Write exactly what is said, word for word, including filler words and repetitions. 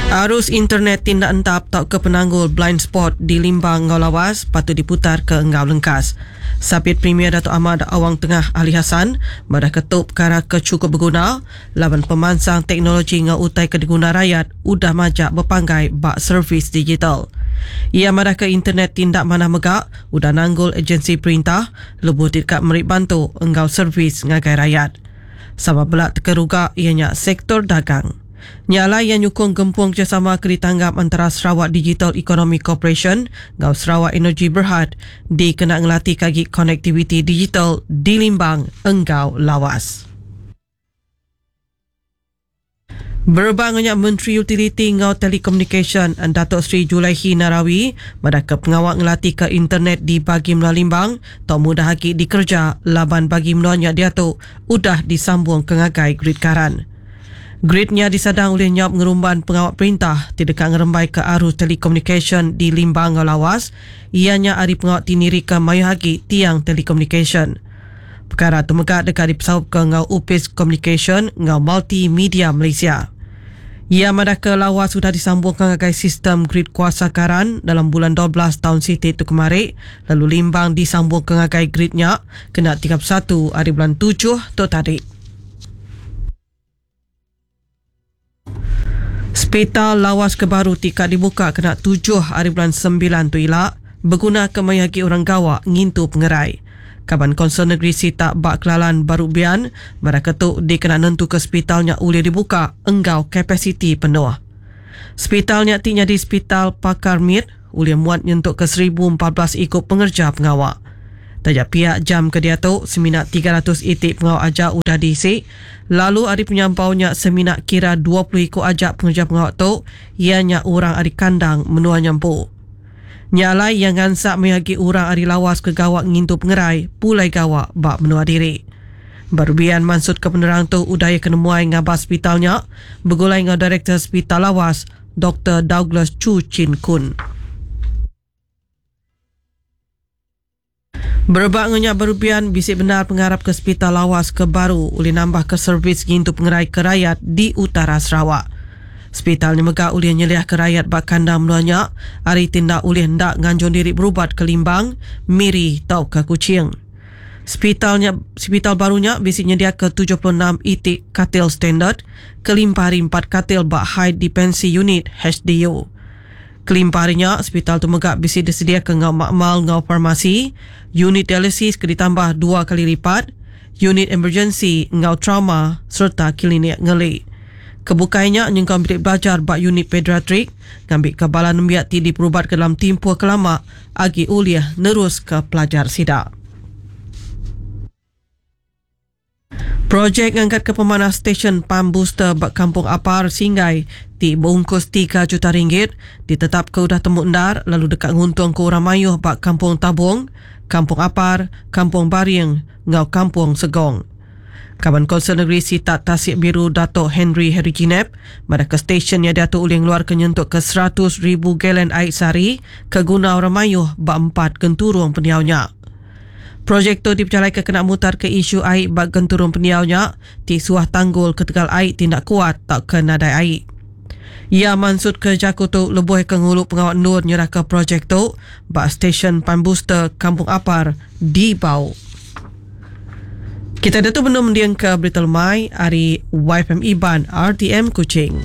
Arus internet tindak entap tau ke penanggul blind spot di Limbang Ngau Lawas patut diputar ke Enggau Lengkas. Sapit Premier Datuk Ahmad Awang Tengah Ali Hassan madah ketuk perkara ke cukup berguna laban pemansang teknologi ngau utai ke diguna rakyat udah majak berpanggai bak servis digital. Ia madah ke internet tindak mana megak udah nanggul agensi perintah lebuh dekat merik bantu enggau servis ngagai rakyat. Sama belak terkeruga ianya sektor dagang. Nyala yang nyukung gempung kerjasama ke ditanggap antara Sarawak Digital Economy Corporation ngau Sarawak Energy Berhad dikena ngelati kagi konektiviti digital di Limbang Enggau Lawas. Berbangnya Menteri Utiliti ngau Telekomunikasi Datuk Seri Julaihi Narawi pada ke pengawal ngelati ke internet di bagi Menua Limbang tau mudah lagi dikerja laban bagi menuanya dia tu udah disambung ke ngagai grid karan. Gridnya disadang oleh nyap ngerumban pengawal perintah tidak ngerembai ke arus telekomunikasi di Limbang ngau Lawas ianya ari pengawal tiniri ke mayuh agi tiang telekomunikasi. Perkara tu megak dekat dipesaup ke ngau Upis Communication ngau Multimedia Malaysia. Ia madah ke Lawas sudah disambungkan ngagai sistem grid kuasa karan dalam bulan dua belas tahun siti tu kemari, lalu Limbang disambungkan ngagai gridnya kena tiga puluh satu hari bulan tujuh tu tadi. Hospital Lawas ke baru tika dibuka kena tujuh hari bulan sembilan tu ila berguna ke mayagi orang gawak ngintu pengerai. Kaban Konsel Negeri Sitak Bak Kelalan Baru Bian pada ketuk dikena nentu ke hospitalnya boleh dibuka enggau kapasiti penuh. Hospitalnya ti nyadi hospital pakar mit boleh muat nyentuk ke seribu empat belas ikut pengerja pengawak. Tajak pihak jam ke dia tu semina tiga ratus itik pengawak aja udah diisi, lalu ari penyampaunya semina kira dua puluh ikut ajak pengerja pengawak tu ianya orang ari kandang menua nyampu. Nyalai yang ngansak mayagi orang ari Lawas ke gawak ngintu pengerai pulai gawak bak menua diri. Barubian maksud ke penerang tu udaya kenemuai ngabas hospitalnya bergulai ngau Direktur Hospital Lawas Doktor Douglas Chu Chin Kun. Berebak ngenyak Barubian bisik benar pengarap ke Hospital Lawas ke baru oleh nambah ke servis ngintu pengerai ke rakyat di utara Sarawak. Hospital ni megak oleh nyeliah ke rakyat bak kandang menuanya hari tindak oleh ndak nganjung diri berubat ke Limbang, Miri tau ke Kuching. Hospitalnya, hospital barunya bisik nyedia ke tujuh puluh enam itik katil standard, kelimpah hari empat katil bak High Dependency Unit H D U. Kelimpahnya, hospital tu megak bisik disedia ke ngau makmal ngau farmasi, unit dialisis ke ditambah dua kali lipat, unit emergency ngau trauma serta klinik ngeli. Kebukainya nyengkau bilik belajar bak unit pediatrik, ngambil ke bala nembiak ti diperubat ke dalam timpuh kelama agi uliah nerus ke pelajar sida. Projek ngangkat ke pemanah stesen pump booster bak Kampung Apar Singgai ti bungkus tiga juta ringgit ditetap ke udah temu endar lalu dekat nguntung ke orang mayuh bak Kampung Tabung, Kampung Apar, Kampung Baring ngau Kampung Segong. Kaban Konsel Negeri Sitak Tasik Biru Dato' Henry Harry Jinep pada ke stesen yang diatur oleh ngeluar ke nyentuk ke seratus ribu galen air sehari ke guna orang mayuh bak empat genturung pendiaunya. Projek tu dipercalai ke kena mutar ke isu air bak genturung pendiaunya ti suah tanggul ketegal air tindak kuat tak ke nadai air. Ia maksud ke jaku tu lebuh ke ngulu pengawal nur nyerah ke projek tu bak stesen pump booster Kampung Apar di Bau. Kita dah tu belum mendiang ke Berita Lemai hari Y F M Iban R T M Kuching.